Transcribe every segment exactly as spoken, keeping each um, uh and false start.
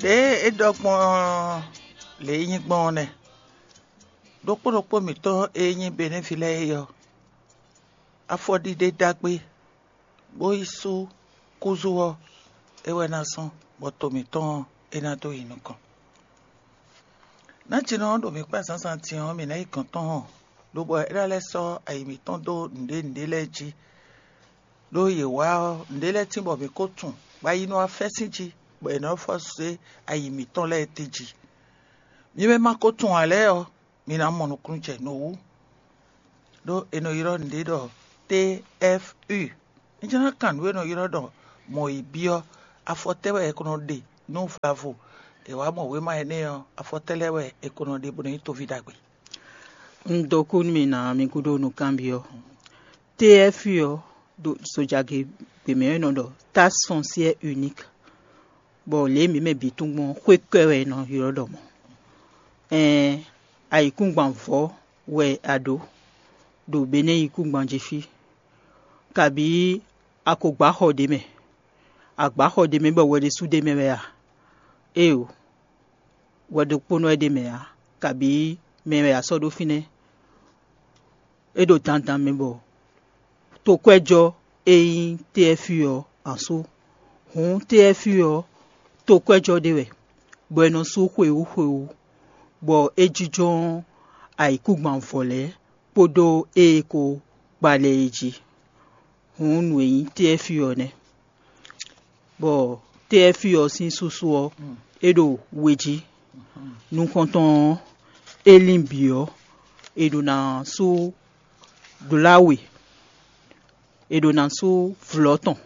Ɖěe é ɖɔ gbɔn lě e nyí gbɔn ɔ́ nɛ́. Ɖokpó ɖokpó mǐtɔn e nyí Benɛ́vi lɛ́ɛ é ɔ́, afɔɖiɖe ɖagbe bó yi sú kúzú ɔ́, é wɛ ná zɔ́n bɔ to mǐtɔn ɔ́, é ná dó yi nukɔn. Nǎjinɔ ɔ́ ɖo mǐ kpá zǎnzǎn din ɔ́, mǐ ná yi gɔ̌n tɔn hɔn, lobɔ é ná lɛ́ sɔ́ ayi mǐtɔn dó nǔɖé nǔɖé lɛ́ɛ jí. Ɖó yě wá ɔ́, nǔɖé lɛ́ɛ tín bɔ mǐ ko tunwun, bɔ ayi nɔ wá fɛ́sín jí, bɔ è nɔ fɔ zé ayi mǐtɔn lɛ́ɛ tɛ́ jí. Mi mɛ ma ko tunwun ǎ lɛ́ɛ ɔ́, mi ná mɔ nukúnnú jɛ nǔ wú. Ɖó è nɔ ylɔ́ nǔɖé ɖɔ T F U. Un jló ná kan nǔ e è nɔ ylɔ́ ɖɔ mɔ̌ yi byɔ́, afɔ tɛ́ wɛ è ko nɔ ɖe nú vlavo? È wǎ mɔ wěma énɛ́ ɔ́, afɔ tɛ́ lɛ́ɛ wɛ è ko nɔ ɖe bó nɔ nyí toví ɖagbe. Un dó kú nú mi ná mi gúdo nukánbyɔ́. T F U ɔ́ ɖo zojagě gběmɛ e nɔ ɖɔ Taxe Foncière Unique, bɔ lě e mǐ mɛ bǐ tunwun gbɔn ɔ́, xwé kɔ́ wɛ è nɔ ylɔ́ ɖɔ mɔ̌. Ɛɛn, ayǐkúngban vɔ̌ wɛ a ɖǒ ɖo Benɛ́ yíkúngban jí fí, kabǐ a ko gbǎ xɔ ɖě mɛ, a gbǎ xɔ ɖě mɛ bɔ hwɛ ɖésú ɖ'é mɛ wɛ a? Éeǒ, hwɛ ɖokpónɔ wɛ ɖ'é mɛ ǎ, kabǐ mɛ wɛ a sɔ́ ɖó fínɛ́. É ɖo dandan mɛ bɔ tokwɛ́jɔ́ e nyí T F U ɔ́, a sú. Hǔn T F U ɔ́, tokwɛ́jɔ́ ɖé wɛ, bɔ è nɔ sú xwewú xwewú, bɔ é jínjɔ́n ayǐkúngban vɔ̌ lɛ́ɛ kpódó ée ko gba lɛ́ɛ é jí. Hǔn nǔ e nyí T F U ɔ́ nɛ́, bɔ T F U ɔ́ sín súsú ɔ́, é ɖo we jí. Nukɔntɔn ɔ́, é lín bǐ ɔ́, è ɖǒ ná sú dlá we, è ɖǒ ná sú vlɔ̌ tɔn,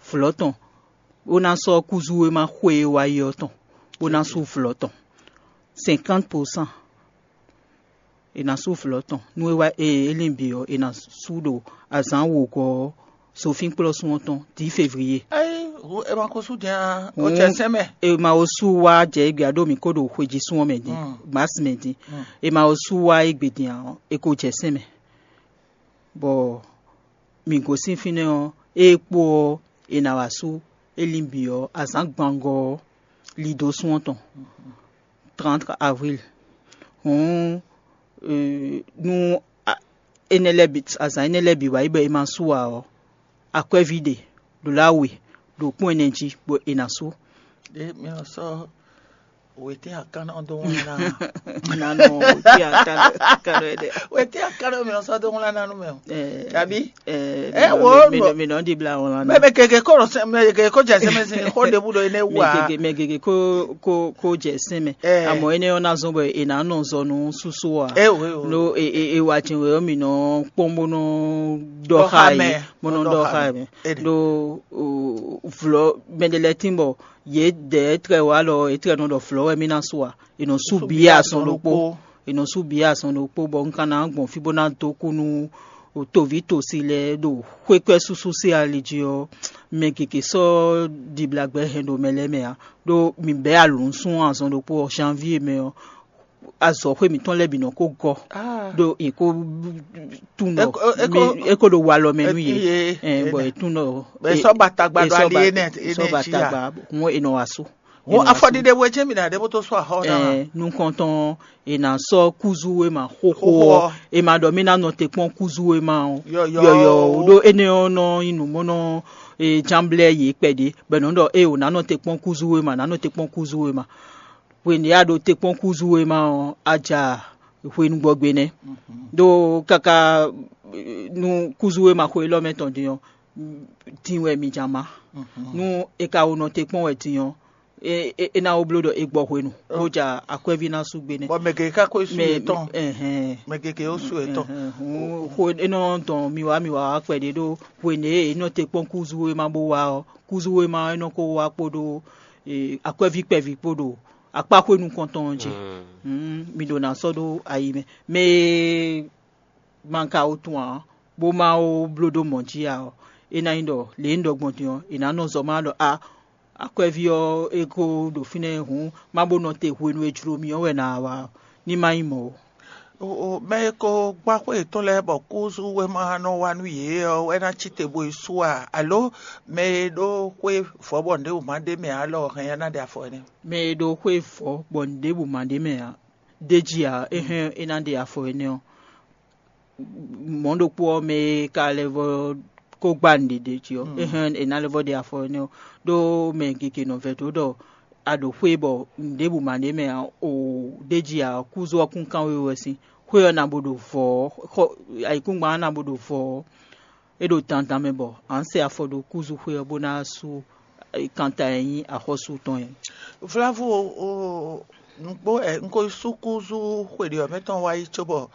vlɔ̌ tɔn, bó ná sɔ́ kúzú e ma xwe e wá yi ɔ́ tɔn, bó ná sú vlɔ̌ tɔn, cinquante pour cent. È nǎ sú vlɔ̌ tɔn. Nú é wá e é lin bǐ ɔ́, è nǎ sú ɖo azǎn wǒgɔ́ ɔ́, zofínkplɔ́sún ɔ́ tɔn, dǐ fevliye. Ayi, hu e ma ko sú din a, o Hǔn cɛ sɛn mɛ. E ma wo sú wá jɛ égbé ǎ ɖo mǐ ko ɖo xwejísún ɔ́ mɛ din, Mm. Mars mɛ din. Mm. E ma wo sú wá égbé din ǎ, ɔ́, e ko jɛ sɛn mɛ. Bɔ mǐ gosín fínɛ́ ɔ́, ée kpo ɔ́, è nǎ wá sú é lin bǐ ɔ́, azǎn gbangɔ ɔ́, lido sún ɔ́ tɔn, trente avril. Hǔn, euh, nú a- énɛ́ lɛ́ɛ bǐ, azǎn énɛ́ lɛ́ɛ bǐ wá yi bɔ è ma sú ǎ ɔ́, akwɛ́ví ɖe ɖo lá we ɖo kpɔ́n ɛnɛ jí bɔ è nǎ sú. Ɖé mi ɔ sɔ́ wěté akánná dó wlán ná. Nanɔ wěté akánná ɛnɛ. Wěté akánná mi ɔ sɔ́ dó wlán ná nú mɛ o. Tàbí? Ɛ Ɛ, wo, mi nɔ- mi nɔ ɖi bla wlán ná. Mɛ mɛ gègé kó rɔ sɛ mɛ gègé kó jɛ sɛmɛ sin xó ɖebu ɖo énɛ́ wú Mɛ a. Gègé mɛ gègé kó kó kó jɛ sɛn mɛ. Ɛ. Àmọ́ énɛ́ ɔ́ ná zɔ́n bɔ è nǎ nɔ zɔ nú súsú a. Ɛ o ɛ o. Lo e e e wa jɛn wɛ ɔ́ mi nɔ kpɔ́n bó nɔ ɖɔ Ɖɔ xá xá yě, mɛ. Bó nɔ Nɔ ɖɔ ɖɔ xá xá yě. Mɛ. Ɛ ɖe. Lo o, vlɔ mɛ ɖe lɛ́ɛ tín bɔ yě dɛ trɛ wa lɔ yě trɛ nɔ ɖɔ vlɔ wɛ mí ná sú a. È nɔ sú Sú bǐ bǐ azɔn azɔn ɖokpó. Ɖokpó. È nɔ sú bǐ azɔn ɖokpó bɔ un ka ná gbɔn fí bó ná dó kú nú toví tosi lɛ́ɛ ɖo xwékɔ́ súsú sín ali jí ɔ́, mɛ gěgé sɔ́ ɖiblagbɛ hɛn ɖo mɛ lɛ́ɛ mɛ ǎ. Ɖó mǐ bɛ́ alǔnsun azɔn ɖokpó ɔ́, janvier mɛ ɔ́, azɔ̌xwé mǐtɔn lɛ́ɛ bǐ nɔ ko gɔ́. Ah. Ɖó è ko tunwun É ko- é ko- mi- é ko ɖo walɔ mɛ nú yě. Ye- Ɛn, bɔ ye- è tunwun ɖɔ Bɛ è- sɔ́ ba tagba è ɖo sɔ́ ali ba- énɛ́ è sɔ́ énɛ́ ba jí tagba. Hǔn è nɔ wá sú. Wọn afɔɖiɖe we jɛn mi na ɖe bó tó sɔ́ axɔ ná. Ɛɛ, nukɔntɔn è nǎ sɔ́ kúzú e ma xóxó Xóxó ɔ́, ɔ́. È ma ɖɔ mí ná nɔ te kpɔ́n kúzú e ma ɔ́. Yɔyɔ. Yɔyɔ o ɖó énɛ́ ɔ́ nɔ nyí nǔ bó nɔ e jánblɛ́ yě kpɛɖé, bɔ è nɔ ɖɔ ée ò nǎ nɔ te kpɔ́n kúzú e ma, nǎ nɔ te kpɔ́n kúzú e ma. Hwenu e a ɖo te kpɔ́n kúzú e ma ɔ́, a ja hwenu gbɔgbe nɛ́. Ɖó káká eh, nú kúzú e ma xo élɔ́ mɛ tɔn din ɔ́, din wɛ mi ja ma. Nú è ka wo nɔ te kpɔ́n wɛ din ɔ́, é é- é ná wó bló ɖɔ è gbɔ hwenu, bó ja akwɛ́ví ná sú gbe nɛ́. Bɔ mɛ gěgé ká ko sú Mɛ yětɔn. Ɛhɛn. Mɛ gěgé ó sú yětɔn. Ɛhɛn, hǔn, xo é nɔ dɔn mi wá mi wá wá kpɛɖé ɖó hwenu e è nɔ te kpɔ́n kúzú e ma bó wá ɔ́, kúzú e ma ɔ́ é nɔ ko wá kpódó eh, akwɛ́ví kpɛví kpó ɖo akpáxwé nukɔntɔn ɔ́ jí. Mm. Mm, mi ɖo ná sɔ́ ɖó ayi mɛ. Mɛ e ma ka wo tunwun ǎ, bó ma wo bló ɖó mɔ̌ jí ǎ ɔ́, é ná nyí ɖɔ lě e un ɖɔ gbɔn din ɔ́, è nǎ nɔ zɔ má ɖɔ a akwɛ́ví ɔ́ é ko ɖo fínɛ́ hǔn, má bó nɔ te hwenu e jló mì ɔ́ wɛ ná wá ɔ́, ní má nyí mɔ̌ ó. O, mɛ e ko gbá xwé yětɔn lɛ́ɛ bɔ kúzú wéma nɔ wa nú yě ɔ́ wɛ ná cí te bó yi sú a? Alo mɛ e ɖó xwé vɔ̌ bɔ nǔɖé wǔ ma ɖ'é mɛ ǎ lɔ hɛn ya ná ɖe afɔ énɛ́? Mɛ e ɖó xwé vɔ̌ bɔ nǔɖěbǔ ma ɖ'é mɛ ǎ, d'é jí ǎ, é hɛn é ná ɖe afɔ énɛ́ ɔ́, mɔ̌ ɖokpó ɔ́, mɛ e ka lɛ́ vɔ́ ko gbá nǔɖé ɖ'é jí ɔ́, é hɛn è nǎ lɛ́ vɔ́ ɖe afɔ énɛ́ ɔ́, ɖó mɛ gěgé nɔ vɛdó ɖɔ a ɖo xwé bɔ nǔɖěbǔ ma ɖ'é mɛ ǎ, o, d'é jí ǎ, kúzú ɔ́ kún kán we wɛ sín. Xwé ɔ́ ná bo ɖo vɔ̌ ɔ́, xɔ ayǐkúngban ɔ́ ná bo ɖo vɔ̌ ɔ́, é ɖo dandan mɛ bɔ a nǎ sɛ afɔ ɖó kúzúxwé ɔ́ bó ná sú kanta e nyí axɔ́sú tɔn é. Vlavo, o, nǔgbó ɛ, un ko yi sú kúzú xwe ɖě ɔ́ mɛ tɔn wá yi cóbɔ,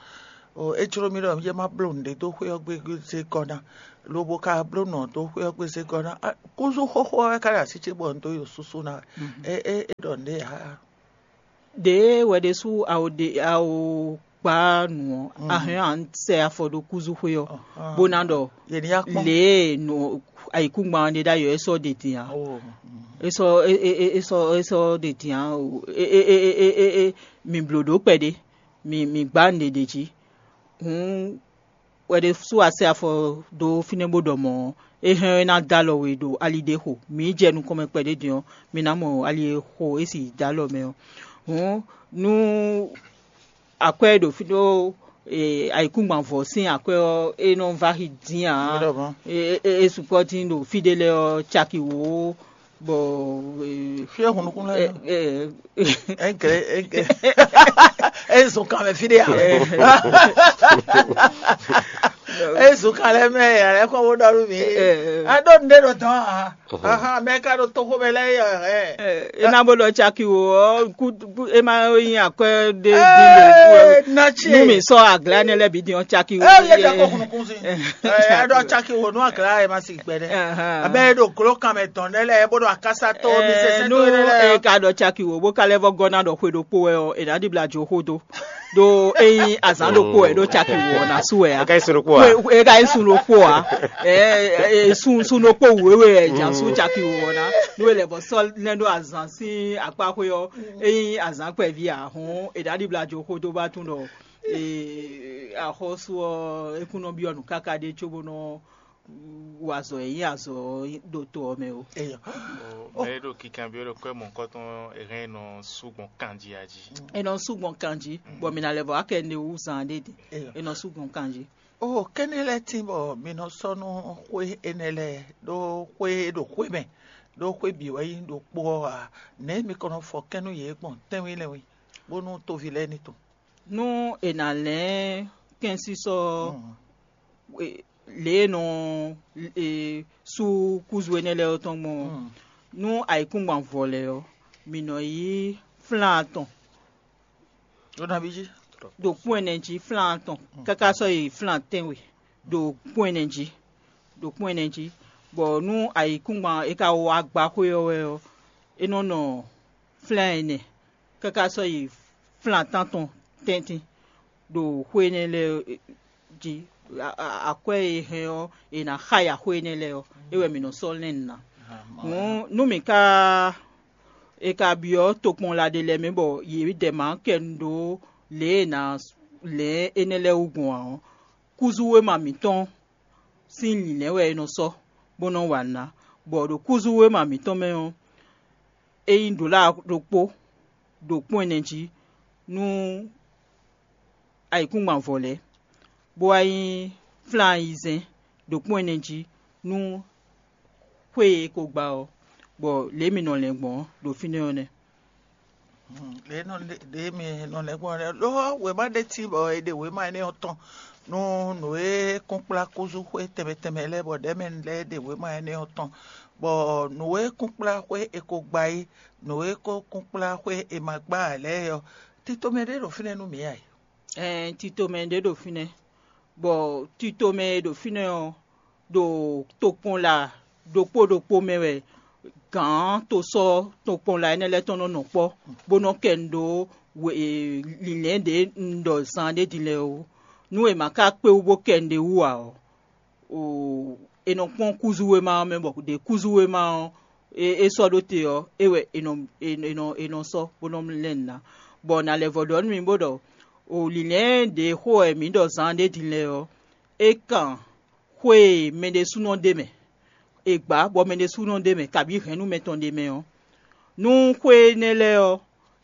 o, é jló mì ɖɔ yé má bló nǔɖé dó xwé ɔ́ gbé zé gɔ́ ná, lobo ka bló nǔ ɔ́ dó xwé ɔ́ gbé zé gɔ́ ná. Á, kúzú xóxó ɔ́ wɛ ka ɖo así ce bɔ un dó yi o súsú ná wɛ. É é é ɖɔ nǔɖé ǎ. Ɖěe wɛ ɖésú a o ɖe a o gbá nǔ ɔ́, a hɛn a nǎ sɛ afɔ ɖó kúzúxwé ɔ́, bó ná ɖɔ Yě ní yá kpɔ́n. Lě e nǔ ayǐkúngban ɔ́ ɖe ɖ'ayǐ ɔ́, é sɔ́ ɖe din ǎ. Oh, mm. É sɔ́ é é é é sɔ́ é sɔ́ ɖe din ǎ. O, é é é é é é é mǐ bló ɖó kpɛɖé, mǐ mǐ gbá nǔɖé ɖ'é jí. Hǔn wɛ ɖésú a sɛ afɔ dó fínɛ́ bó ɖɔ mɔ̌ ɔ́, é hɛn ɔ́, é ná dó alɔ we ɖo ali ɖé xo. Mǐ yi jɛ nukɔn mɛ kpɛɖé din ɔ́, mi ná mɔ ali e xo é sì dó alɔ mɛ ɔ́. Hǔn nú akwɛ́ e ɖo fí ɖó ayǐkúngban vɔ̌ sín akwɛ́ ɔ́, é nɔ vɛ́ axi dín ǎ. É sukpɔ́ dín ɖo fí ɖé lɛ́ɛ ɔ́, caki wǒ bɔ Fí e hun nukún lɛ́ɛ nɔ. Ɛ, ɛ, Ɛnkɛ, ɛnkɛ. E zun kan mɛ fí ɖé ya. E zun kan lɛ mɛ ya lɛ kɔ wo ɖɔ nú mi. Ɛ, ɛ. A ɖo nɖe ɖo dɔn a. Ahan, mɛ ka ɖo toxo mɛ lɛ yɛ. Ɛ, e na bo ɖɔ caki wo ɔ, ku, ku, e ma nyi akwɛ ɖe. Ee, na tsi. Nu mi sɔ agla ne lɛ bi din ɔ caki wo. Ee, ye ɖɔ ko hun nukún si. Ɛ, a ɖɔ caki wo nu agla ye ma si gbɛ ɖe. Abe e ɖo glo kan mɛ dɔn ɖe lɛ, e bo ɖo akasa to mi sese to ɖe lɛ. E ka ɖɔ caki wo bó ka lɛ́ vɔ gɔ́ ná ɖɔ xwe ɖokpó wɛ ɔ́, è nǎ ɖibla jo xó dó. Ɖó ényí azǎn ɖokpó wɛ ɖó caki wo ɔ́ ná sú wɛ ǎ. Eka yi sun ɖokpó ǎ. Eka yi sun ɖokpó ǎ. Ɛ sun sun ɖokpó wěwe wɛ jà sú caki wo ɔ́ ná. Nú e lɛ bɔ sɔ́ lɛ́ ɖó azǎn sín akpá xwé ɔ́, ényí azǎn kpɛví ǎ hɔn, è nǎ ɖibla jo xó dó bá tún ɖɔ axɔ́sú ɔ́, é kún nɔ byɔ́ nǔ káká ɖé cóbó nɔ wa azɔ̌ e nyí azɔ̌ ɖo to ɔ́ mɛ ó. Eyɔ. Mɛ e ɖo kinkanbyɔ́ ɖo kwɛ́ mɔ̌hunkɔtɔn e hɛn nɔ sú gbɔn kanjí a jí. È nɔ sú gbɔn kanjí, bɔ mǐ ná lɛ́ vɔ akɛ ne wú zan ɖé din. Eyɔ. È nɔ sú gbɔn kanjí. O kɛ́nɛ lɛ́ɛ tín bɔ mi nɔ sɔ́ nú xwé énɛ́ lɛ́ɛ ɖó xwé e ɖo xwé mɛ, ɖó xwé bǐ wɛ nyí ɖokpó ɔ́ ǎ. Nɛ̌ mi kɔn nɔ fɔ kɛ́n nú yě gbɔn tɛ́nwí lɛ́nwí, bónú toví lɛ́ɛ ní tunwun? Nú è nǎ lɛ́n kɛ́nsísɔ lě e nɔ sú kúzu énɛ́ lɛ́ɛ ɔ́ tɔn gbɔn ɔ́, nú ayǐkúngban vɔ lɛ́ɛ ɔ́, mǐ nɔ yí flán atɔn ɖo kpɔ́n ɛnɛ jí, flán atɔn káká sɔ́ yi flán tɛ́nwe ɖo kpɔ́n ɛnɛ jí, ɖo kpɔ́n ɛnɛ jí, bɔ nú ayǐkúngban e ka wá gbá xwé ɔ́ wɛ ɔ́, é nɔ nɔ flán ɛnɛ káká sɔ́ yi flán tántɔn tɛ́ntin ɖo xwé énɛ́ lɛ́ɛ jí. Akwɛ́ e hɛn ɔ́, è nǎ xa yi axwé énɛ́ lɛ́ɛ ɔ́, é wɛ mǐ nɔ sɔ́ lɛ́n nǔ ná. Hǔn nú mǐ ka è ka byɔ́ tokpɔnla ɖé lɛ́ɛ mɛ bɔ yě dɛ mǎ kɛ nu ɖó lě e è nǎ lɛ̌n énɛ́ lɛ́ɛ wú gbɔn ǎ ɔ́, kúzúwéma mǐtɔn sín lǐnlɛ́n wɛ è nɔ sɔ́ bó nɔ́ wa nǔ ná, bɔ ɖo kúzúwéma mǐtɔn mɛ ɔ́, é nyí ɖǒla ɖokpó ɖo kpɔ́n ɛnɛ jí nú ayǐkúngban vɔ lɛ́ɛ, bó wá nyí flán ayizɛ́n ɖo kpɔ́n ɛnɛ jí nú xwé e è ko gba ɔ́, bɔ lě e mǐ nɔ lɛn gbɔn ɔ́ ɖo fínɛ́ ɔ́ nɛ́. Ɖě nɔ ɖě mi nɔ lɛ́ gbɔn lɛ́ ló wěma ɖé cí bɔ è ɖe wěma énɛ́ ɔ́ tɔn nú nǔ e kún kplá kúzú xwé tɛnmɛ tɛnmɛ lɛ́ɛ bɔ ɖɛ̌mɛnu lɛ́ɛ ɖe wěma énɛ́ ɔ́ tɔn, bɔ nǔ e kún kplá xwé è ko gba é, nǔ e ko kún kplá xwé è ma gba ǎ lɛ́ɛ ɔ́, tito mɛ ɖé ɖo fínɛ́ nú mǐ ǎ. Ɛɛ, tito mɛ ɖé ɖo fínɛ́, bɔ tito mɛ e ɖo fínɛ́ ɔ́, ɖo tokpɔnla ɖokpó ɖokpó mɛ wɛ gǎn tosɔ́ tokpɔnla énɛ́ lɛ́ɛ tɔn nɔ nɔ kpɔ́, bó nɔ kɛ nu ɖó lǐnlɛ́n ɖě un ɖɔ zan ɖé din lɛ́ɛ ó. Nú è ma ka kpé wú bó kɛ nu ɖé wú ǎ ɔ́, è nɔ kpɔ́n kúzúwéma ɔ́ mɛ bɔ ɖě kúzúwéma ɔ́ é sɔ́ ɖó te ɔ́, é wɛ è nɔ è nɔ è nɔ sɔ́ bó nɔ lɛ́n nǔ ná. Bɔ nǎ lɛ́ vɔ ɖɔ nú mi bó ɖɔ O lǐnlɛ́n ɖě xo wɛ mǐ ɖɔ zaan ɖé din lɛ́ɛ ɔ́, é kan xwé e mɛɖésúnɔ ɖ'é mɛ, è gbǎ bɔ mɛɖésúnɔ ɖ'é mɛ, kabǐ hɛ̌nnu mɛtɔn ɖ'é mɛ ɔ́. Nú xwé énɛ́ lɛ́ɛ ɔ́,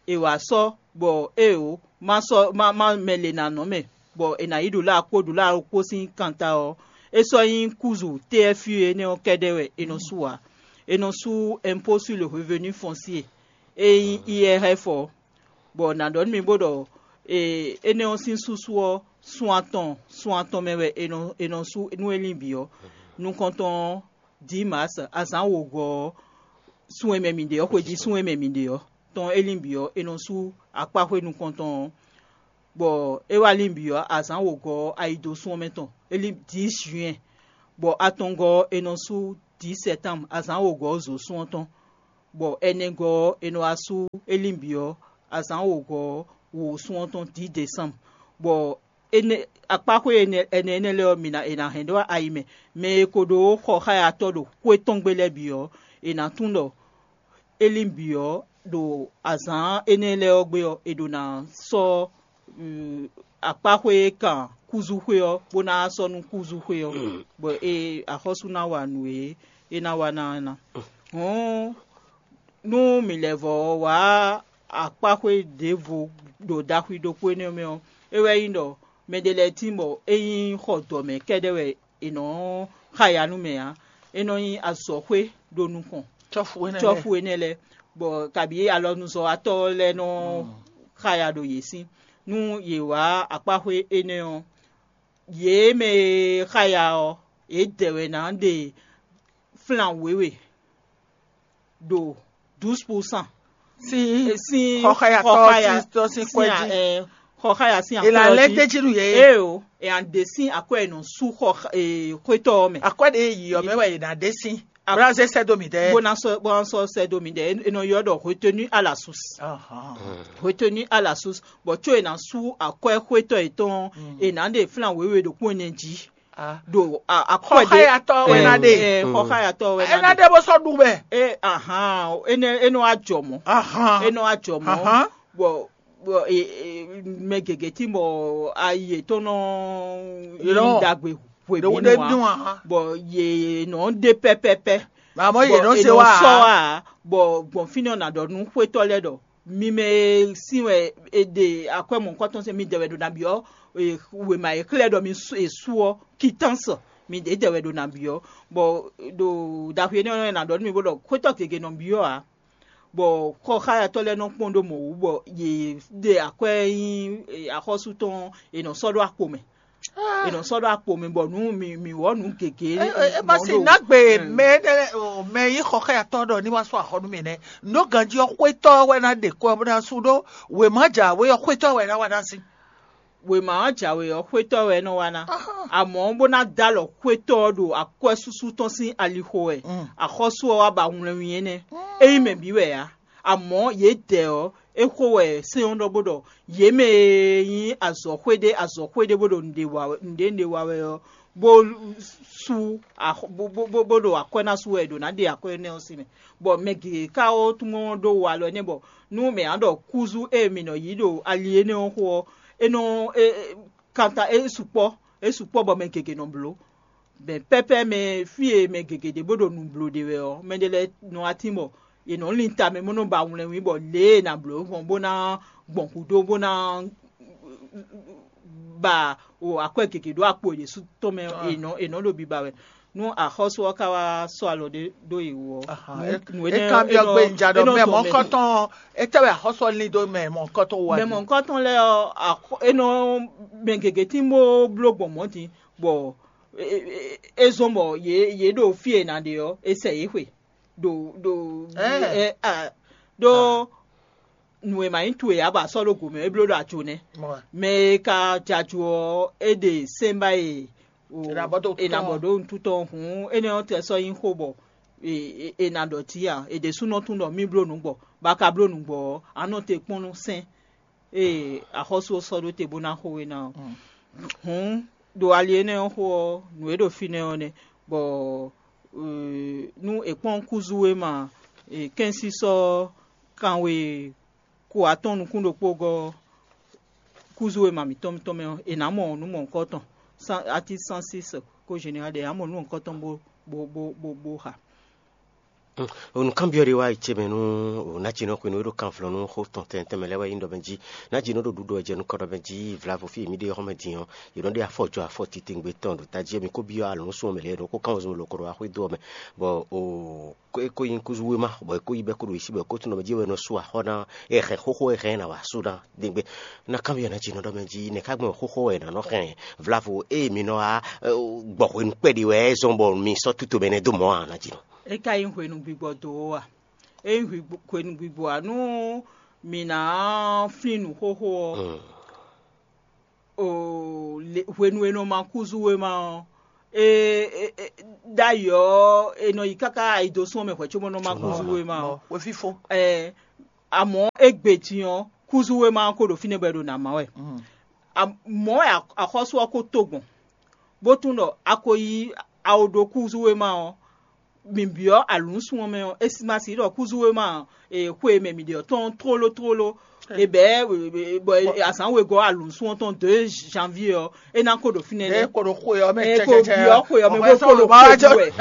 è wǎ sɔ́ bɔ éeǒ, má sɔ́ má má mɛ lě ná nɔ mɛ, bɔ è nǎ yi ɖo lá kpó ɖo lá kpó sín kanta ɔ́, é sɔ́ nyí kúzu T F U énɛ́ ɔ́ kɛ́ɖɛ́ wɛ è nɔ sú ǎ. È nɔ sú impôt sur le revenu foncier, e nyí I R F ɔ́. Bɔ nǎ ɖɔ nú mi bó ɖɔ énɛ́ ɔ́ sín súsú ɔ́, sun atɔn sun atɔn mɛ wɛ è nɔ è nɔ sú nú é lin bǐ ɔ́. Nukɔntɔn ɔ́, dǐ Maas azǎn wǒgɔ́ ɔ́, sun e mɛ mǐ ɖe ɔ́, xwejí sun e mɛ mǐ ɖe ɔ́ tɔn é lin bǐ ɔ́, è nɔ sú akpáxwé nukɔntɔn ɔ́, bɔ é wá lin bǐ ɔ́, azǎn wǒgɔ́ ɔ́, ayi dó sun ɔ́ mɛ tɔn, é lin dǐ juin, bɔ atɔngɔ́ ɔ́, è nɔ sú dǐ sɛtánmu, azǎn wǒgɔ́ ɔ́, zǒ sun ɔ́ tɔn, bɔ ɛnɛgɔ́ ɔ́, è nɔ wá sú é lin bǐ ɔ́, azǎn wǒgɔ́ ɔ́, wǒ sun ɔ́ tɔn dǐ desánmu, bɔ énɛ́ akpáxwé ɛnɛ ɛnɛ lɛ́ɛ ɔ́, mi ná è nǎ hɛn ɖó ayi mɛ. Mɛ e ko ɖó xɔxáyatɔ́ ɖo xwé tɔn gbe lɛ́ɛ bǐ ɔ́, è nǎ tunwun ɖɔ é lin bǐ ɔ́, ɖo azǎn énɛ́ lɛ́ɛ ɔ́ gbe ɔ́, è ɖǒ ná sɔ́ akpáxwé e kan kúzúxwé ɔ́, bó ná sɔ́ nú kúzúxwé ɔ́, bɔ é axɔ́sú ná wa nǔ e é ná wa ná ɔ́ ná. Hǔn nú mǐ lɛ́ vɔ́ wá akpáxwé ɖěvo ɖo ɖaxwi ɖokpó énɛ́ mɛ ɔ́, é wɛ nyí ɖɔ mɛɖé lɛ́ɛ tíin bɔ é nyí xɔ dɔ̌ mɛ kɛ́ɖɛ́ wɛ è nɔ́ xa ya nú mɛ ǎ. É nɔ nyí azɔ̌xwé ɖo nukɔn cɔ́fu énɛ́ lɛ́ɛ. Cɔ́fu énɛ́ lɛ́ɛ, bɔ kabǐ alɔnuzɔ́watɔ́ lɛ́ɛ nɔ xa ya ɖo yě sín. Nú yě wá akpáxwé énɛ́ ɔ́, yě mɛ e xa ya ɔ́, yě dɛ wɛ ná ɖe flan wěwe ɖo douze pour cent sín sín xɔxayatɔ xɔxaya tɔn sín sín kwɛ́ a- jí. Ɛ, xɔxaya sín È nǎ akwɛ́ ɔ́ lɛ́ jí. D'é jí nú yě. Ée o, è nǎ ɖe sín akwɛ́ e nɔ sú xɔ e, xwétɔ́ ɔ́ mɛ. Akwɛ́ ɖě yí ɔ́ mɛ wɛ è nǎ ɖe sín. A- Bó ná zé sɛ́ dó mǐ dɛ́. Bó ná sɔ́ bó ná sɔ́ sɛ́ dó mǐ dɛ́. È nɔ ylɔ́ ɖɔ retenu à la source. Ahán. Retenu à la source. Bɔ có è nǎ sú akwɛ́ xwétɔ́ yětɔn, è nǎ ɖe flan wěwe ɖo kpɔ́n ɛnɛ jí. Ah. Ɖo a- akwɛ́ ɖé. Xɔxayatɔ wɛ ná ɖe. Ɛ, ɛ, xɔxayatɔ wɛ ná Ena ɖe. Ɖe bó sɔ́ ɖu mɛ. E ahan, ene eno ajɔ mɔ. Ahán. Eno ajɔ mɔ. Ahán. Bɔ bɔ e, e, mɛ gěgé tí bɔ ayi yětɔn nɔ Yě nɔ- yi ɖagbe hwe ɖewo bínú ɖe wa. Bínú wa. Bɔ yě nɔ ɖe pɛpɛpɛ. Àmọ́ yě Bɔ nɔ e se nɔ wá. Sɔ wa. Bɔ gbɔn fínɛ́ ɔ́ nǎ ɖɔ nú xwétɔ́ lɛ́ɛ ɖɔ mi mɛ e sín wɛ è ɖe akwɛ́ mɔ̌hunkɔtɔn sín mi dɛ wɛ ɖo nǎ byɔ́ wěma e xlɛ́ ɖɔ mi su- è su ɔ́, kitánsɔ, mi ɖě dɛ wɛ ɖo nǎ byɔ́. Bɔ ɖo ɖaxwi énɛ́ ɔ́, è nǎ ɖɔ nú mi bó ɖɔ xwétɔ́ gěgé nɔ byɔ́ ǎ. Bɔ xɔxáyatɔ́ lɛ́ɛ nɔ kpɔ́n ɖó mɔ̌ wú, bɔ yě ɖe akwɛ́ nyi axɔ́sú tɔn, è nɔ sɔ́ ɖó akpo mɛ. È nɔ sɔ́ ɖó akpo mɛ bɔ nú mi mi wɔ nǔ gěgé. E ma si nagbe mɛ ɖe o mɛ yi xɔ xɛ atɔ ɖɔ ni wa sɔ axɔ nú mi nɛ. No ganji ɔ xwetɔ wɛ na ɖe kɔ bó na su ɖó wema ja we ɔ xwetɔ wɛ na wa na si. Wema ɔ jǎwe ɔ xwetɔ wɛ é nɔ wa ná. Amɔ̌ bó ná dó alɔ xwetɔ ɔ́ ɖo akwɛ́súsú tɔn sín alixo wɛ. Axɔ́sú ɔ́ wá ba wlɛnwin énɛ́. É nyí mɛ bǐ wɛ ǎ. Amɔ̌ yědɛɛ ɔ́, é xo wɛ sɛ́n ɔ́ ɖɔ bó ɖɔ yě mɛ e nyí azɔ̌xwé ɖé azɔ̌xwé ɖé bó ɖo nǔɖé wa wɛ- nǔɖé nǔɖé wa wɛ ɔ́, bó sú axɔ- bó bó bó bó ɖo akwɛ́ ná sú wɛ è ɖǒ ná ɖe akwɛ́ énɛ́ ɔ́ sín mɛ. Bɔ mɛ gěgé ka ó tún mɔ ɖó walɔ énɛ́ bɔ nú mɛ ǎ ɖɔ kúzú e mǐ nɔ yí ɖo ali énɛ́ ɔ́ xo ɔ́, é nɔ é- é- kanta é sukpɔ́ é sukpɔ́ bɔ mɛ gěgé nɔ bló. Bɛn pɛ́pɛ́ mɛ fí e mɛ gěgé ɖě bó ɖo nǔ bló ɖe wɛ ɔ́, mɛɖé lɛ́ɛ nɔ wá tín bɔ yě nɔ lin tamɛ bó nɔ ba wlɛnwí bɔ lě e è nǎ bló gbɔn bó ná gbɔn gǔdo bó ná ba o akwɛ́ gěgé ɖó akpo yěsu tɔn mɛ è nɔ è nɔ ɖo biba wɛ. Nú axɔ́sú ɔ́ ka wá sɔ́ alɔ ɖé ɖó yě wú ɔ́, nǔ nǔ énɛ́ é kan byɔ́ gbe nja ɖɔ mɛ mɔ̌kɔtɔn étɛ́ wɛ axɔ́sú ɔ́ lin dó mɛ mɔ̌kɔtɔn wú wɛ. Mɛ mɔ̌kɔtɔn lɛ́ɛ ɔ́, axɔ- é nɔ mɛ gěgé tín bó bló gbɔn mɔ̌ din, bɔ é- é- é zɔ́n bɔ yě yě ɖo fí e è nǎ ɖe ɔ́, è sɛ yě xwe ɖo ɖo Ɛɛ. ɛ- a- ɖó nǔ e ma nyí towe ǎ bɔ a sɔ́ ɖó gǒ mɛ, é bló ɖo ajo nɛ́. Mɔ- Mɛ e ka jɛ ajo ɔ́, é ɖe sɛ́nbá e o È nǎ bɔ dó è nǎ tɔn. Bɔ ɖó nǔtútɔ hǔn énɛ́ ɔ́ tɛ sɔ́ nyí xó bɔ è- è- è nǎ ɖɔ jí a è ɖésúnɔ tún ɖɔ mí bló nǔ gbɔ, bɔ a ka bló nǔ gbɔ ɔ́, a nɔ te kpɔ́n nú sɛ́n e axɔ́sú ɔ́ sɔ́ ɖó te bó ná xo we ná ɔ́. Hǔn ɖo ali énɛ́ ɔ́ xo ɔ́, nǔ e ɖo fínɛ́ ɔ́ nɛ́, bɔ nú è kpɔ́n kúzú e ma kɛ́nsísɔ́ kanwe ko atɔ́ɔ́n nukún ɖokpó gɔ́ ɔ́, kúzú e ma mǐtɔn mǐtɔn mɛ ɔ́, è nǎ mɔ nǔ mɔ̌hunkɔtɔn, atí cent six ko général ɖe, è nǎ mɔ nǔ mɔ̌hunkɔtɔn bó bó bó bó bó xa. Nǔkanbyɔ́ ɖé wá yi ce mɛ nú Nájinɔ hwenu e ɖo kanvlɔ́ nú xó tɔn tɛntɛn mɛ lɛ́ɛ wɛ nyí ɖɔ mɛ jí. Nájinɔ ɖo ɖuɖu wɛ jɛ nukɔn ɖɔ mɛ jí vla vo fí e mǐ ɖe ɔ́ mɛ din ɔ́, yě nɔ ɖe afɔ jɔ afɔ titewungbe tɔn ɖo tají ɔ́. Mǐ ko byɔ́ alɔ̌nsu ɔ́ mɛ lě e ɖo xó kán wezun loko ɖo axwé dó ɔ́ mɛ, bɔ o é ko nyí kúzú wéma, bɔ é ko yí bɛ́ kó ɖo yě sí, bɔ é ko tunwun ɖɔ mɛ jí wɛ è nɔ sú axɔ́ ná, é hɛn xóxó é hɛn ná wa sú ná ɖěgbé. Ná kanbyɔ́ ná jí nɔ ɖɔ mɛ jí nɛ̌ ká gbɔn xóxó wɛ è nǎ nɔ hɛn vlavo ée mi nɔ wá gbɔ hwenu kpɛɖé wɛ é zɔ́n bɔ mi sɔ́ tútomɛ nɛ́ dó mɔ̌ ǎ ná jí nɔ. É ka nyí hwenu gbigbɔ do ó a? É nyí hwenu gbigbɔ ǎ nú mǐ ná flín nǔ xóxó ɔ́, hwenu e nɔ ma kúzú wéma ɔ́, é é- é- ɖ'ayǐ ɔ́, è nɔ yi káká ayidosún ɔ́ mɛ hwɛ̌ cóbɔ nɔ ma kúzú wéma ɔ́. Xwefífó. Ɛɛ, amɔ̌ égbé din ɔ́, kúzú wéma ɔ́ ko ɖo fínɛ́ bɔ è ɖo nǎ má wɛ. Mɔ̌ wɛ axɔ́sú ɔ́ ko tó gbɔn, bó tunwun ɖɔ a ko yí awo ɖó kúzú wéma ɔ́, mǐ byɔ́ alǔnsun ɔ́ mɛ ɔ́, é ma sixú ɖɔ kúzú wéma xwe e mɛ mǐ ɖe ɔ́ tɔn tlóló tlóló. È bɛ̌ bɔ azǎn wegɔ́ alǔnsun ɔ́ tɔn dɔ̌ janvier ɔ́, é ná ko ɖo fínɛ́ nɛ́. Ko ɖo xwe ɔ́ mɛ. Ɛ ko byɔ́ xwe ɔ́ mɛ bó ko ɖo xwe ɖu wɛ,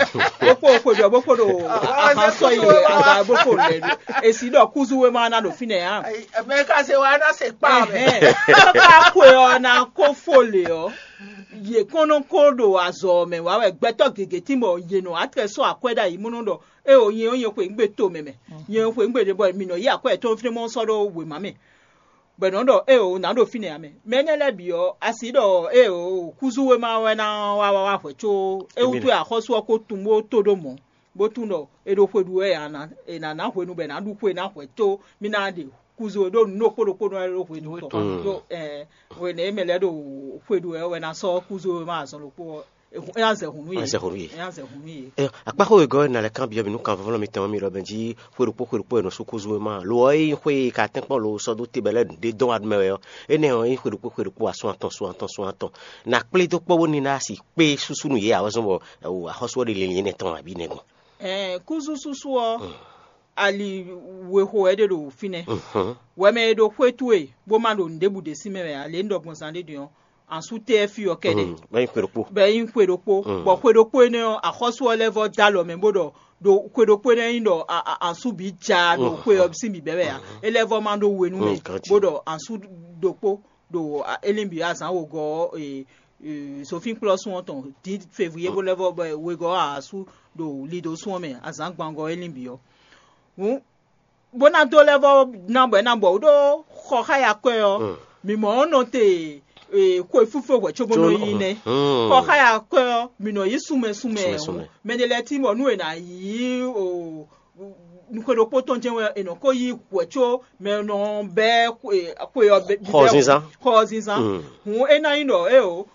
bó ko xwe ɖu wɛ bó ko ɖo axán sɔ́ yi wɛ, azǎn bó ko lɛ ɖu. È sixú ɖɔ kúzú wéma ná ɖo fínɛ́ ǎ. Mɛ ka se wa ná se kpa mɛ. Káká xwe ɔ́ ná ko fó lě ɔ́, yě kɔn nɔ ko ɖo azɔ̌ ɔ́ mɛ wá wɛ. Gbɛtɔ́ gěgé tín bɔ yě nɔ wá tlɛ sɔ́ akwɛ́ ɖ'ayǐ mɔnɔ ɖɔ éeǒ nyɛ ɔ́ nyɛ xwe nǔgbé to mɛ mɛ, nyɛ xwe nǔgbé ɖě bɔ mǐ nɔ yí akwɛ́ yětɔn fínɛ́ mɔ sɔ́ ɖó wěma mɛ, bɔ è nɔ ɖɔ éeǒ nǎ ɖo fínɛ́ ǎ mɛ. Mɛ énɛ́ lɛ́ɛ bǐ ɔ́, a sixú ɖɔ éeǒ kúzú wéma wɛ ná wá wá wá hwɛ̌ có é wútu wɛ axɔ́sú ɔ́ ko tunwun bó tó ɖó mɔ̌, bó tunwun ɖɔ è ɖo xwe ɖu wɛ ǎ, è nǎ ná hwenu bɔ è nǎ ɖu xwe ná hwɛ̌ có mì ná ɖe kúzú e ɖó nǔ ɖokpó ɖokpó nɔ wɛ ɖó hwenu tɔn. Ɖó hwenu e mɛ lɛ́ɛ ɖo xwe ɖu wɛ wɛ ná sɔ́ kúzú e ma azɔn ɖokpó ɔ́, é ná zɛ hǔn nú yě. Ná zɛ hǔn nú yě. É ná zɛ hǔn nú yě. Akpáxó wegɔ́ ɔ́, ná lɛ́ kanbyɔ́ mì nú kanvɔ́vɔ́lɔ́ mitɔn ɔ́, mi ɖɔ mɛ jí xwe ɖokpó xwe ɖokpó è nɔ sú kúzú e ma lo ɔ́, é nyí xwe e ka tɛ́nkpɔ́n lo sɔ́ dó te bɔ é lɛ́ ɖě dɔn wa mɛ wɛ ɔ́, énɛ́ ɔ́, é nyí xwe ɖokpó xwe ɖokpó asún atɔn asún atɔn asún atɔn. Nǎ kplé dó kpɔ́ bónú ná si kpé súsú nú yě ǎ wɛ zɔ́n bɔ axɔ́sú ɔ́ ɖe linlin énɛ́ tɔn abǐ nɛgbɔn. Ɛɛ, kúzú súsú ɔ́, ali wexo wɛ é ɖe ɖo fínɛ́. Wɛmɛ e ɖo xwé towe bó ma ɖo nǔɖébǔ ɖě sín mɛ wɛ ǎ, lě un ɖɔ gbɔn zán ɖé din ɔ́, ansú tɛ́ fí ɔ́ kɛ́ɖɛ́. Bɔ é nyí xwe ɖokpó. Bɔ xwe ɖokpó énɛ́ ɔ́, axɔ́sú ɔ́ lɛ́ vɔ́ dó alɔ mɛ bó ɖɔ ɖo xwe ɖokpó énɛ́ nyí ɖɔ ansú bǐ ja ɖo xwe ɔ́ sín bǐbɛ́ wɛ ǎ. É lɛ́ vɔ́ ma ɖó we nú mɛ bó ɖɔ ansú ɖokpó ɖo élín bǐ azǎn wǒgɔ́ ɔ́, zofínkplɔ́sún ɔ́ tɔn dǐ fevwiyé bó lɛ́ vɔ́ bɔ wegɔ́ asú ɖo lidosún ɔ́ mɛ azǎn gbangɔ élín bǐ ɔ́. Hǔn bó ná dó lɛ́ vɔ́ ná bɔ é ná bɔ wǔ ɖó xɔ xá ya kwɛ́ ɔ́, mǐ mɔ ɔ́ nɔ te xwe fífó hwɛ̌ cóbó nɔ yí nɛ́. Xɔ xá ya kwɛ́ ɔ́, mǐ nɔ yí sunmɛ sunmɛ. Mɛ ɖé lɛ́ɛ tín bɔ nú è nǎ yí xwe ɖokpó tɔn jɛ́n wɛ è nɔ ko yí hwɛ̌ có mɛ nɔ bɛ́ xwe ɔ́ bɛ́ xɔ zinzán. Xɔ zinzán. Hǔn é ná nyí ɖɔ éeǒ,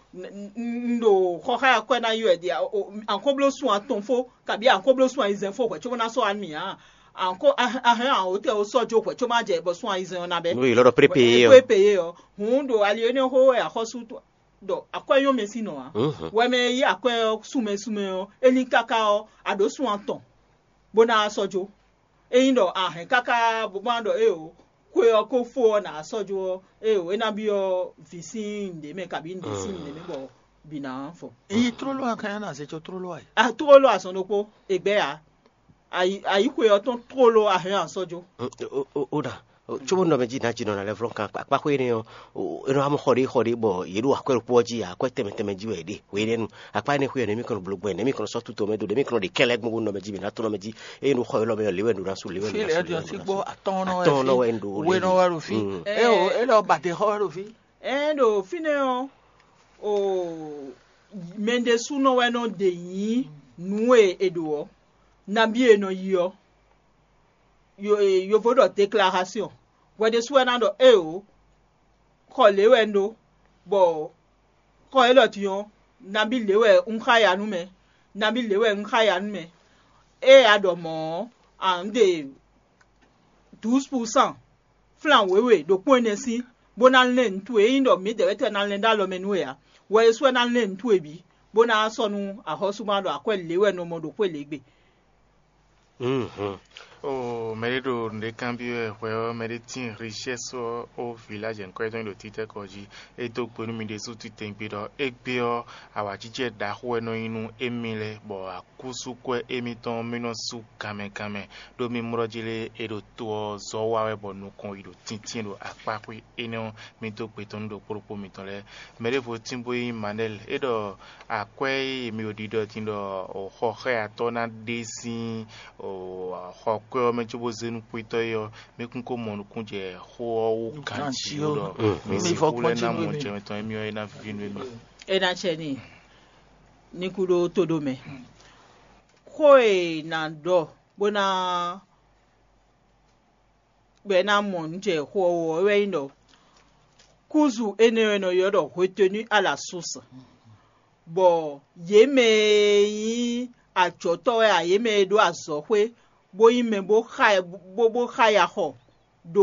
un ɖo xɔ xá ya kwɛ́ ná yí wɛ ɖi ankóblósun atɔn fó, kabí ankóblósun ayizɛ́n fó hwɛ̌ cóbó ná sɔ́ wá nú mì ǎ. Ankó ahɛn awǒtɛn ó sɔ́ jó hwɛ̌ có má jɛ bɔ sún ayizɛ́n ɔ́ ná bɛ́. Nú yě lɔ ɖɔ prépéyé ɔ́. Prépéyé ɔ́. Hǔn ɖo ali énɛ́ xó wɛ axɔ́sú ɖɔ akwɛ́ nyɔ́ mɛ sín nɔ ǎ. Wɛ mɛ e yí akwɛ́ ɔ́ súnmɛ súnmɛ ɔ́, é lín káká ɔ́, a ɖǒ sun atɔn bó ná wá sɔ́ jó. Ényí ɖɔ a hɛn káká bó ma ɖɔ éeǒ, xwe ɔ́ ko fó ɔ́, nǎ sɔ́ jó ɔ́, éeǒ, é ná byɔ́ vǐ sín nǔɖé mɛ kabí nǔɖé sín nǔɖé mɛ bɔ bǐ ná fɔ. Yi tlóló a kan nyá na zé có tlóló a yi. A tlóló azɔn ɖokpó, è gbɛ́ ǎ. Ayi xwe ɔ́ tɔn tlóló a hɛn a sɔ́ jó. Ó ɖa. Cóbó nɔ mɛ jí nǎ jí nɔ ná lɛ́ vlɔ́ kan akpáxwé énɛ́ ɔ́, é nɔ wá mɔ xɔ ɖé xɔ ɖé bɔ yě ɖo akwɛ́ ɖokpó ɔ́ jí, akwɛ́ tɛnmɛ tɛnmɛ jí wɛ yě ɖe. Hwenɛ́nu akpá énɛ́ xwé ɔ́, nɛ̌ mì kɔn nɔ bló gbɔn, nɛ̌ mì kɔn nɔ sɔ́ tutɔ mɛ dó, nɛ̌ mì kɔn nɔ ɖe kɛ́ lɛ́ɛ gbɔn bó nɔ mɛ jí mǐ ná tó nɔ mɛ jí. Ényí ɖo xɔ élɔ́ mɛ ɔ́, lě wɛ un ɖo ná sú, lě wɛ un ɖo ná sú, lě wɛ un ɖo ná sú. Atɔ́ɔ́n nɔ wɛ Atɔ́ɔ́n nɔ wɛ un ɖo. We nɔ wɛ ɖo fí. Mm. É o, é lɔ ba ɖe xɔ wɛ ɖo fí. Ɛɛ ɖo fínɛ́ ɔ́, o mɛ ɖésúnɔ wɛ nɔ ɖe nyǐ nǔ e è ɖǒ ɔ́, nabí e nɔ yi ɔ́. Yo- e- yovo ɖɔ déclaration. Hwɛ ɖésú wɛ ná ɖɔ éeǒ, xɔ lě wɛ un ɖó, bɔ xɔ élɔ́ din ɔ́, nabí lě wɛ un xá ya nú mɛ, nabí lě wɛ un xá ya nú mɛ. Ée a ɖɔ mɔ̌ ɔ́, a nǔ ɖe douze pour cent flan wěwe ɖokpó énɛ́ sín, bó ná lɛ́n nǔ towe. Ényí ɖɔ mǐdɛɛ wɛ tɛ́ ná lɛ́n ɖó alɔ mɛ nú we ǎ, hwɛ é sú wɛ ná lɛ́n nǔ towe bǐ, bó ná sɔ́ nú axɔ́sú ma ɖɔ akwɛ́ lě wɛ nɔ mɔ ɖo xwé lě gbe. Mhm. O mɛɖé ɖo nǔɖé kanbyɔ́ wɛ hwɛ ɔ́, mɛɖé tín richɛ́si ɔ́ ó vǐlájɛ nukɔn tɔn ɖo títɛ́kɔ jí. É dó gbe nú mi ɖésú titewungbe ɖɔ égbé ɔ́, awǎjijɛ ɖaxó wɛ nɔ nyí nú émí lɛ́ɛ, bɔ akúsúkwɛ́ émítɔn mí nɔ sú ganmɛ ganmɛ. Ɖó mí mlɔ́ jí lé, é ɖo to ɔ́ zɔ wa wɛ bɔ nukɔn yi ɖo tíntín ɖo akpáxwé énɛ́ ɔ́, mí dó gbe tɔn nú ɖokpó ɖokpó mitɔn lɛ́ɛ. Mɛ ɖěvo tín bó nyí Manɛ́li, é ɖɔ akwɛ́ e mi ɖo ɖiɖɔ din ɖɔ xɔxɔ́yatɔ́ ná ɖe sín xɔkwɛ́ ɔ́ mɛ cóbó zé nú kwítɔ́ é ɔ́, mí kún ko mɔ nukún jɛ xó ɔ́ wú ganjí ó ɖɔ mi sín xú lɛ́ɛ ná mɔ jɛ mitɔn émí ɔ́, é ná víví nú émí. É ná acɛ n'i ní kú ɖó tóɖó mɛ. Xó e nǎ ɖɔ bó ná bɔ é ná mɔ nǔ jɛ xó ɔ́ wú ɔ́ wɛ nyí ɖɔ kúzu énɛ́ ɔ́ è nɔ ylɔ́ ɖɔ hwetenú a la súnsi, bɔ yě mɛ e nyí ajɔ̌tɔ́ wɛ a, yě mɛ e ɖó azɔ̌xwé bó nyí mɛ bó xa bó bó xa ya xɔ ɖo